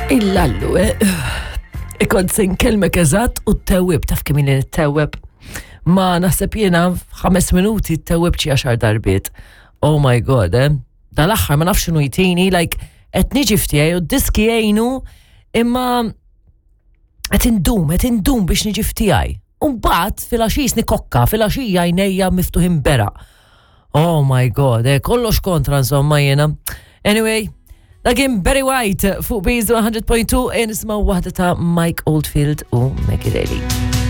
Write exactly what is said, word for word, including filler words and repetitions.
Illallu, eh? Ikont se nkellmek eżatt u t-tewwib, taf kemm ili nittewweb. Ma naħseb jiena f'ħames minuti t-tewwib xi għaxar darbiet. Oh my God, eh? Dal-aħħar ma nafx x'inhu jtini, like, qed niġi f'tiegħi u d-diski jgħinu, imma qed indum, qed indum biex niġi f'tiegħi. U mbagħad filgħaxija nikokka, filgħaxija għajnejja miftuħin bera. Oh my God, eh, kollox kontra insomma jiena. Anyway, dak kien Barry White fuq Beats one hundred point two, nismaw waħda ta' Mike Oldfield u Maggie Reilly.